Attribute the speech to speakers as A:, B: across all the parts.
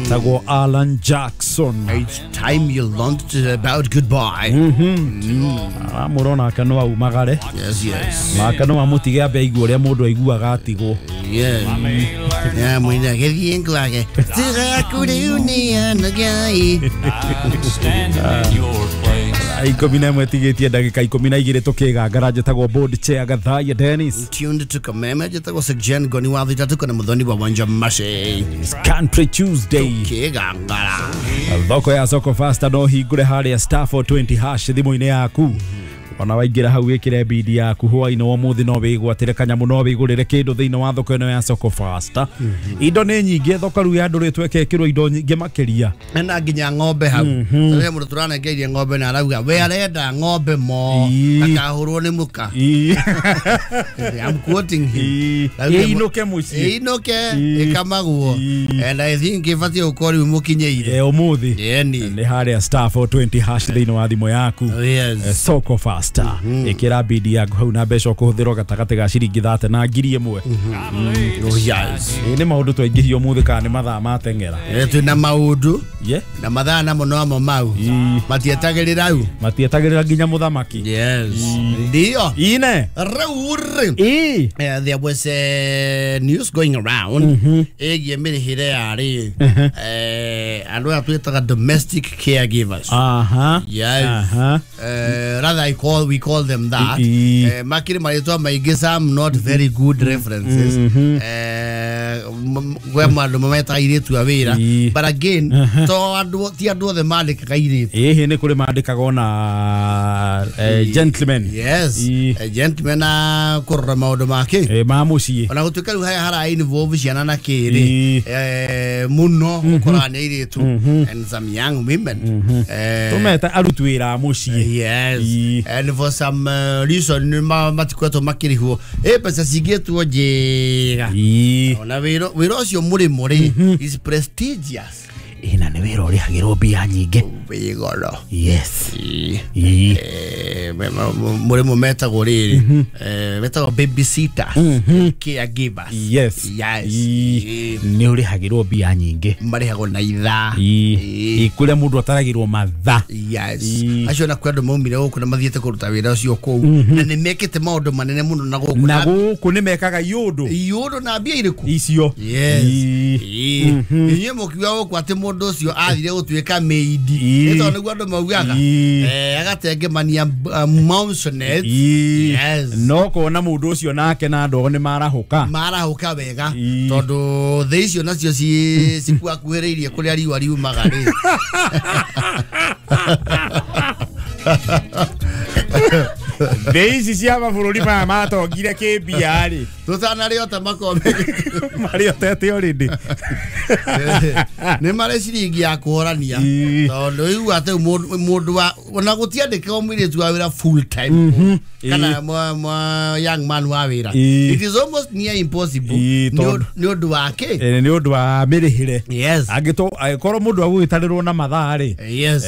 A: Etagwo Alan Jackson.
B: It's time you learned about goodbye.
A: Aramũrona ake no aumagare.
B: Yes, yes.
A: Nake no amũtige ambe aigue ũrĩa mũndũ aiguaga atigwo.
B: Yes. Yeah, mwina gĩthiĩ ngwage. Tiga ngai.
A: 11 tigĩtie ndagĩka 12 tũkĩgangara. Njĩtagwo board chair Gathaiya Dennis.
B: Tuned to Kameme, njĩtagwo Sir Goni wa thitatu kana mũthoni wa Wanja Mashi.
A: Country Tuesday.
B: Tũkĩgangara.
A: Thoko ya Soko Fasta no hingũre harĩa star 420 hash thimũ-inĩ yaku. Ona waingĩra hau wĩkĩre bidi yaku hwaĩ-inĩ wa ũmũthĩ no wĩgwatĩre kanyamũ no wĩgũrĩre kĩndũ thĩinĩ wa thoko ĩno ya Soko Fasta. Indo nĩ nyingĩ, thoko rĩu yandũrĩtwo ĩkekĩrwo indo nyingĩ makĩria.
B: Na nginya ng'ombe hau. Rĩrĩa mũndũ tũranengeirie ng'ombe na arauga we arenda ng'ombe mo akahũrwo nĩ mũka. I'm quoting him.
A: Ĩinũke mũciĩ.
B: Ĩinũke ĩkamagwo. And I think ĩbatiĩ gũkorwo rĩu mũkinyĩire.
A: Ũmũthĩ. Nĩ harĩa star 420 hash thĩinĩ wa thimũ yaku.
B: Yes.
A: Soko Fasta. Ĩkĩra bidi yaku hau na mbeca ũkũhũthĩrwo gatagatĩ ga ciringi 30 na 1000.
B: Yes.
A: Nĩ maũndũ twaingĩhio ũmũthĩ kana nĩ mathaa mateng'era.
B: Twĩna maũndũ na mathaa namo nomo mau matietagĩrĩra u
A: matietagĩrĩra nginya mũthamaki.
B: Yes. Ndio.
A: Ine.
B: Rĩu rĩ. There was a news going around ĩgiĩ mĩrĩhĩre ya rĩ andũ aya twĩtaga domestic caregivers.
A: Aha.
B: Yes. Rather we call them that. Makiri marĩtwa maingĩ, some not very good references. Gwe andũ mametaga airĩtu a wĩra. But again, to andũ ti andũ othe mandĩkaga airĩtu.
A: Ĩhĩ nĩ kũrĩ mandĩkaga ona gentlemen.
B: Yes. Gentlemen a kũrora maũndũ make.
A: Ma mũciĩ.
B: Ona gũtuĩka rĩu harĩa hara involve ciana na kĩrĩ mũno ũkoraga nĩ airĩtu and some young women.
A: Tũmeta aruti wĩra a mũciĩ.
B: Yes. And for some reason matikoretwo makĩrĩhwo mbeca cingĩtwo njega. Ona wĩra ũcio mũrĩmo rĩ is prestigious.
A: Ĩna nĩ wĩra ũrĩhagĩrwo mbia nyingĩ.
B: Wĩ goro.
A: Yes.
B: Mũrĩmo metagwo rĩrĩ metagwo babysitters, caregivers.
A: Yes.
B: Yes.
A: Nĩ ũrĩhagĩrwo mbia nyingĩ.
B: Marĩhagwo na ithaa.
A: Kũrĩa mũndũ ataragĩrwo mathaa.
B: Yes. Acio na kwĩ andũ maumire gũkũ na mathiĩte kũruta wĩra ũcio kũu na nĩ mekĩte maũndũ manene mũno na gũkũ.
A: Na gũkũ nĩ mekaga iũndũ.
B: Iũndũ na mbia irĩkũ?
A: Icio.
B: Yes. Inyuĩ mũkiuga gũkũ atĩ mũndũ ũcio athire gũtuĩka maid. Nĩ tondũ nĩguo andũ maugaga. Agatengemania mansionette. Yes.
A: No kuona mũndũ ũcio nake na andũ nĩ marahũka.
B: Marahũka wega tondũ thĩ icio nacio cikuakuhĩrĩirie kũrĩa riũa riumaga rĩ.
A: Thĩ ici cia mabũrũri maya matongire kĩmbia rĩ.
B: Tũtanarĩo ta makombe.
A: Marĩotete already.
B: Nĩ marĩ ciringi ya kũhorania. Tondũ rĩu atĩ mũndũ wa ona gũtiandĩkagwo mũirĩtu wa wĩra full time. Kana young man wa wĩra. It is almost near impossible. Nĩ ũndũ wa kĩ?
A: Nĩ ũndũ wa mĩrĩhĩre.
B: Yes.
A: Angĩkorwo mũndũ agũgĩtarĩrwo na mathaa rĩ.
B: Yes.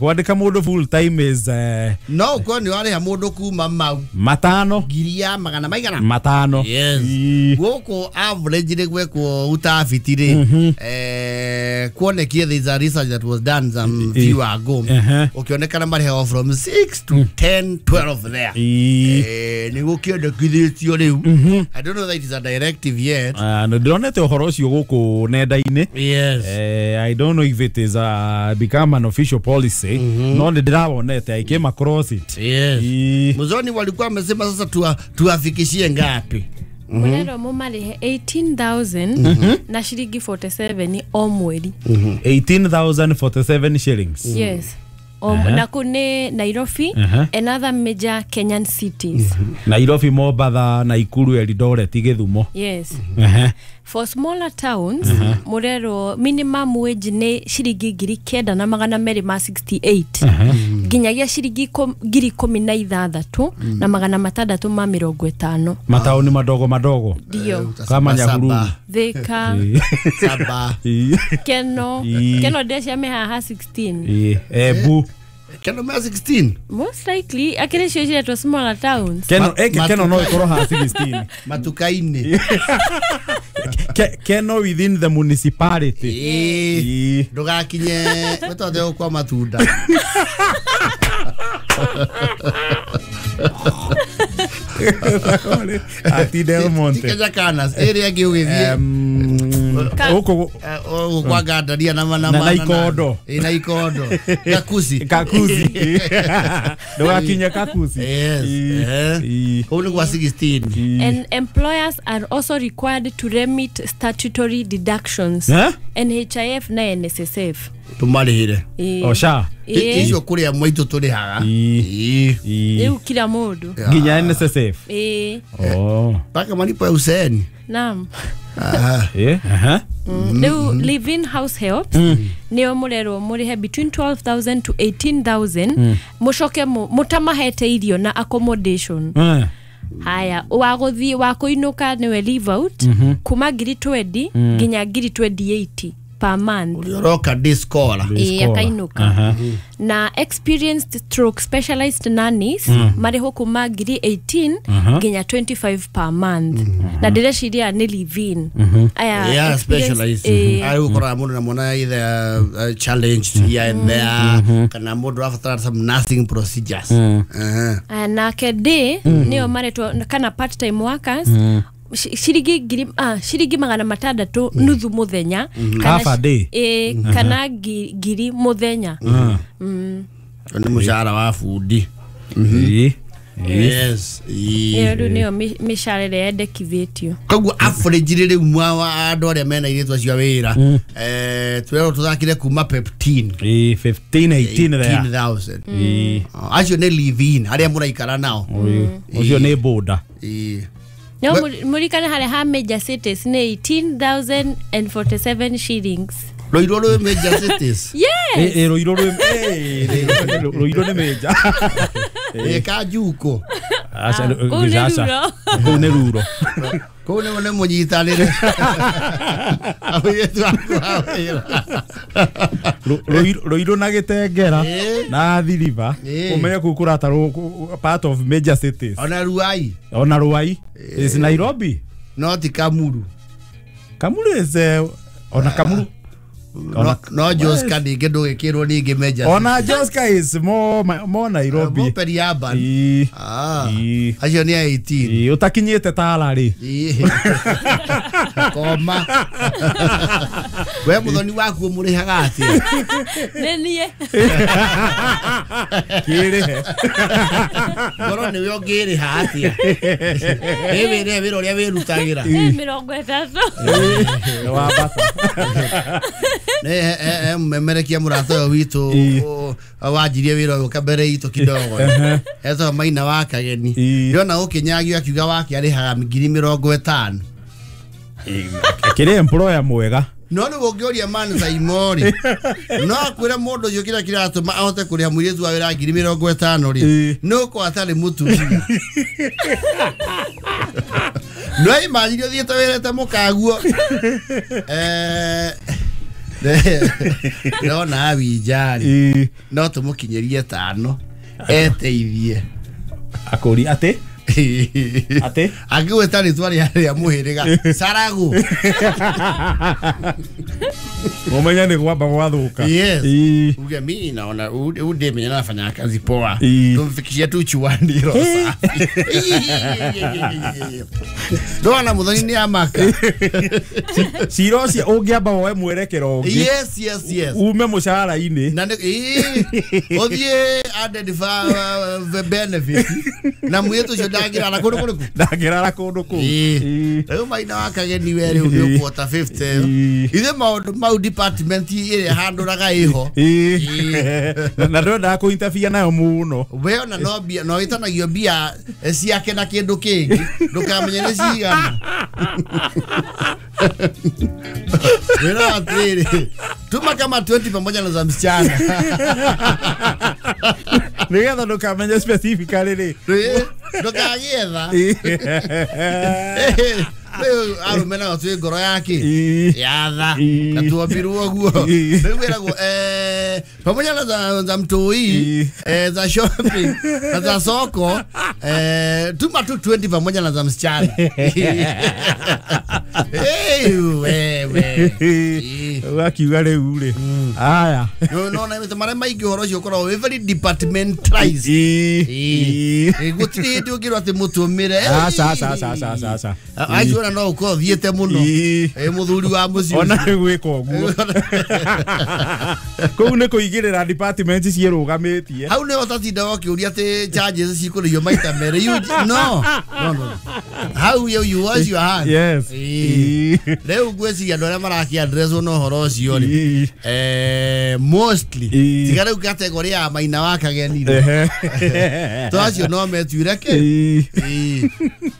A: Kwandĩka mũndũ full time is
B: no ũkorwo nĩ warĩha mũndũ kuma mau
A: matano
B: ngiri ya magana maigana
A: matano.
B: Yes. Gũkũ average rĩ gwekwo utafiti rĩ kuonekie there is a research that was done some few ago ũkĩonekana marĩhagwo from 6 to 10 12 there. Nĩ gũkĩendekithĩtio rĩu. I don't know that it is a directive yet.
A: Ndĩronete ũhoro ũcio gũkũ nenda-inĩ.
B: Yes.
A: I don't know if it is become an official policy. No nĩ ndĩrawonete I came across it.
B: Yes. Muzoni walikuwa wamesema sasa tuafikishie ngapi?
C: Mũrerwo mũmarĩhe 18,000 na ciringi 47 o mweri.
A: 18,047 shillings.
C: Yes. Na kũ nĩ Nairobi and other major Kenyan cities.
A: Nairobi, Mombasa, Nakuru, Eldoret, Githumo.
C: Yes. For smaller towns, mũrerwo minimum wage nĩ ciringi 9,268 nginyagia ciringi 16,650.
A: Mataoni madogo madogo.
C: Ndio.
A: Kama Nyahururu,
C: Thika,
B: Saba,
C: Keno, Keno ndecia mehaha 16.
A: Ebu.
B: Keno mea 16?
C: Most likely, akiri cio ciretwo smaller towns.
A: Keno, Keno no ikorwo ha 16.
B: Matukaini.
A: Keno within the municipality.
B: Ndugakinye wetothe kwa matunda.
A: Ati Del Monte.
B: Tikeja kanas area ngi
A: uko
B: kwa gandaria na
A: na ikondo.
B: Na ikondo. Kakuzi.
A: Kakuzi. Ndugakinye kakuzi.
B: Yes. Kuu ni kwa 16.
C: And employers are also required to remit statutory deductions. NHIF na NSSF.
B: Tumarihire.
A: Osha.
B: Icio kuria mwaitu turihaga.
C: Riu kila mundu.
A: Nginya NSSF. Oh.
B: Paka malipo ya useeni.
C: Naam. Riu live in house helps nio murerwo murihe between 12,000 to 18,000 mucoke mutamahete irio na accommodation. Haya wa guthii wa kuinuka niwe leave out kuma ngiri 20 nginya ngiri 2080 per month.
B: Ulioroka discola.
C: Akainuka. Na experienced stroke specialized nannies marĩhwo kuma ngiri 18 nginya 25 per month. Na ndĩreciria nĩ live in. Aya
B: yeah, specialized. Ari gukora mundu na mwana either challenged here and there kana mundu abatara some nursing procedures.
C: Nake day nĩo maretwo kana part time workers shiringi 600 nuthu muthenya
A: half a day
C: kana ngiri muthenya.
B: Ni mushahara wa fundi. Yes.
C: Iyo rĩu nĩyo mĩcara ĩrĩa yendekithĩtio.
B: Koguo average rĩu mwa andũ arĩa mena airĩtu acio a wĩra twĩrwo tũthakire kuma 15
A: 15 18 there
B: 18,000. Acio nĩ live in arĩa mũraikara nao.
A: Ũcio nĩ boda.
C: No murikane hale ha major cities ni 18,047 shillings.
B: Ruiru rwi major cities.
C: Yes.
A: Ruiru rwi Ruiru ni major.
B: Kajuko.
A: Acha acha. Kuu ni ruro.
B: Kuu ni munyitanire. Airĩtu aku a wĩra.
A: Ruiru na Gitengera na Athi River umenye kuu kuratarwo part of major cities.
B: Ona Ruai.
A: Ona Ruai is Nairobi.
B: No ti Kamuru.
A: Kamuru is ona Kamuru.
B: No Joska ningĩ ndũgĩkĩrwo ningĩ major.
A: Ona Joska is more Nairobi.
B: More peri-urban. Acio nĩ a 18.
A: Ũtakinyĩte Tala rĩ.
B: Koma. We muthoni waku mũrĩhaga atĩa?
C: Nĩ niĩ.
A: Kĩrĩhe.
B: Ngorwo nĩwe ũngĩrĩha atĩa? Ĩ wĩra wĩra ũrĩa wĩrutagĩra.
C: 30.
A: Nĩ wambata.
B: Mmemerekia mũrata ũyũ witũ wanjirie wĩra ũyũ kabere itũ kidogo. Etagwo Maina wa Kageni. Ndĩrona ũkĩnyagio akiuga wake arĩhaga ngiri 50.
A: Kĩrĩ employer mwega.
B: No nĩ ũngĩũria man Saimori no akwĩre mũndũ ũcio kĩrĩa kĩratũma ahote kũrĩha mũirĩtu wa wĩra ngiri 50 rĩ nĩ ũkorwo atarĩ mũtumia. No imagine ũthiĩte wĩrĩte mũkaguo. Ndĩrona Awinjari no tũmũkinyĩrie 5 eteithie.
A: Akũri atĩ atĩ
B: angĩgwĩta rĩtwa rĩa mũhĩrĩga Saragu.
A: Ũmenye nĩ gwamba gwathũka.
B: Yes. Uge mimi naona ude mwenye anafanya kazi poa. Tumfikishie tu chuani roho safi. Ndona muthoni ni amaka.
A: Cira ũcio ũngĩamba woe mwerekero ũngĩ.
B: Yes, yes, yes.
A: Ume mũcara-inĩ.
B: Na ũthiĩ added benefit. Na mũirĩtu ũcio ndangĩrara kũndũ kũrĩkũ?
A: Ndangĩrara kũndũ kũu.
B: Rĩu Maina wa Kageni we rĩu nĩ ũkuota 50. Ithe maũndũ mau department ĩrĩa handũraga ĩho.
A: Na ndwendaga kũ interfere nayo mũno.
B: We ona no mbia no ĩtanagio mbia ciake na kĩndũ kĩngĩ ndũkamenye nĩ cigana. Wĩra atĩrĩrĩ tuma kama 20 pamoja na za msichana.
A: Nĩgetha ndũkamenye specifically rĩ.
B: Ndũkagĩetha. Rĩu arũme nao twĩ ngoro yake yatha na tuombirwo guo. Rĩu wĩragwo pamoja na za mtoi, za shopping na za soko, tuma tu 20 pamoja na za msichana. Wewe
A: wakiuga rĩu rĩ aya
B: no na marĩa maingĩ ũhoro ũcio ũkoragwo wĩ very departmentalized. Gũtirĩ hĩndĩ ũngĩrwo atĩ mũtũmĩre.
A: Aca aca aca aca aca.
B: Acio ona no ũkorwo thiĩte mũno mũthuri wa mũciĩ
A: ona gwĩka ũguo kũu nĩ kũigĩrĩra department ciĩrũgamĩtie.
B: Hau nĩho ũtatindaga ũkĩũria atĩ charges cikũrĩhio maita merĩ. No no no, hau you wash your hands.
A: Yes.
B: Rĩu ngwĩciria andũ arĩa marakĩaddresswo na ũhoro ũcio rĩ, mostly tiga rĩu category ya Maina wa Kageni rĩ, to acio no metuire kĩ.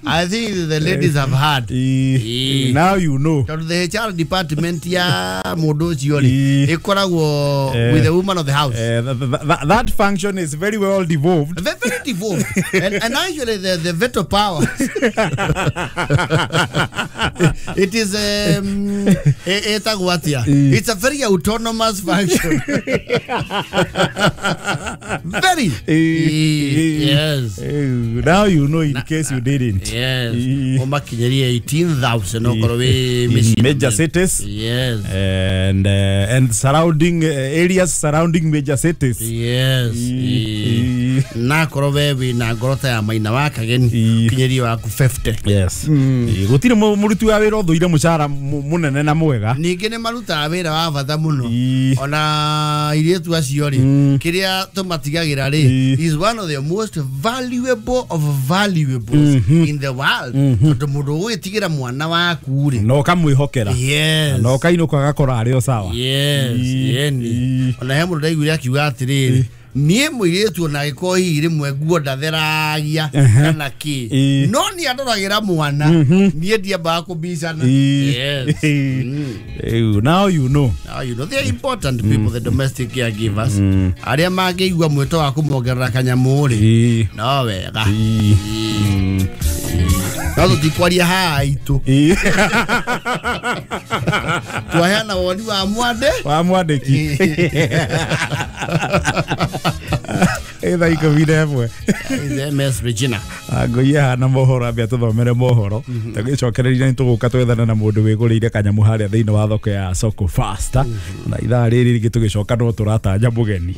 B: I think the ladies have had.
A: Now you know.
B: Tondũ the HR department ya mũndũ ũcio rĩ ĩkoragwo with the woman of the house.
A: That function is very well devolved.
B: Very, very devolved. And actually the veto power. It is it's a very autonomous function. Very. Yes.
A: Now you know in case you didn't.
B: Yes. Umakinyeria 18,000 okorwo wi
A: major cities.
B: Yes.
A: And surrounding areas surrounding major cities.
B: Yes. Na korwo we wina ngoro ta ya Maina wa Kageni kinyeria waku 50.
A: Yes. Gutire muruti wa wira uthuire mucara munene na mwega.
B: Ningĩ nĩ marutaga wĩra wa bata mũno. Ona airĩtu acio rĩ, kĩrĩa tũmatigagĩra rĩ, is one of the most valuable of valuables in the world. Tondũ mũndũ ũgwĩtigĩra mwana waku rĩ,
A: na ũkamwĩhokera.
B: Yes.
A: Na ũkainũka agakora arĩ o sawa.
B: Yes. Yeni. Ona he mũndũ ndaiguire akiuga atĩrĩrĩ, niĩ mũirĩtu ona agĩkorwo hihi rĩmwe nguo ndatheragia kana kĩ, no niĩ andoragĩra mwana, niĩ ndiambaga kũbicana. Yes.
A: Now you know.
B: Now you know. They are important people, the domestic caregivers. Arĩa mangĩigua mwĩto wa kũmongerera kanyamũ rĩ, no wega. No tũtikwaria haha itũ. Twaheana woni wa mwande
A: wa mwandĩki. Thaa 11.
B: MS Regina.
A: Ngũiye hana mohoro ambia tũthomere mohoro. Tũgĩcokereria nĩ tũgũka twethane na mũndũ wĩgũrĩire kanyamũ harĩa thĩinĩ wa thoko ya Soko Fasta. Na ithaa rĩrĩ rĩngĩ tũgĩcoka no tũratanya mũgeni.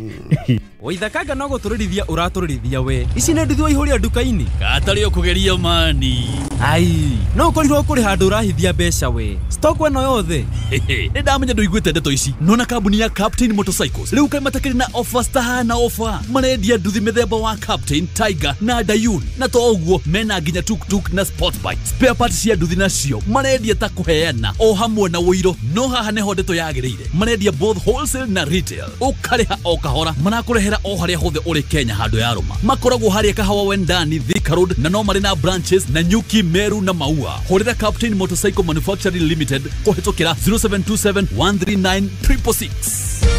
D: Waithakanga no gũtũrĩrithia ũratũrĩrithia we. Ici nĩ nduthi waihũria nduka-inĩ.
E: Gatarĩ ũkũgeria mani.
D: Ai, no ũkorirwo kũrĩ handũ ũrahithia mbeca we. Stock ĩno yothe.
E: Nĩ ndamenya ndũiguĩte ndeto ici. Nona kambuni ya Captain Motorcycles rĩu kaĩ matakĩrĩ na offers tahana offer. Marendia nduthi mĩthemba wa Captain, Tiger na Dayun. Na to ũguo mena nginya tuk-tuk na sport bike. Spare parts cia nduthi nacio marendia ta kũheana o hamwe na ũiro. No haha nĩho ndeto yagĩrĩire. Marendia both wholesale na retail. Ũkarĩha o kahora. Marakũrehera o harĩa hothe ũrĩ Kenya handũ ya rũma. Makoragwo harĩa Kahawa Wendani, Thika Road, na no marĩ na branches na Nyuki, Meru na Maua. Hũrĩra Captain Motorcycle Manufacturing Limited kũhĩtũkĩra 0727 139 666.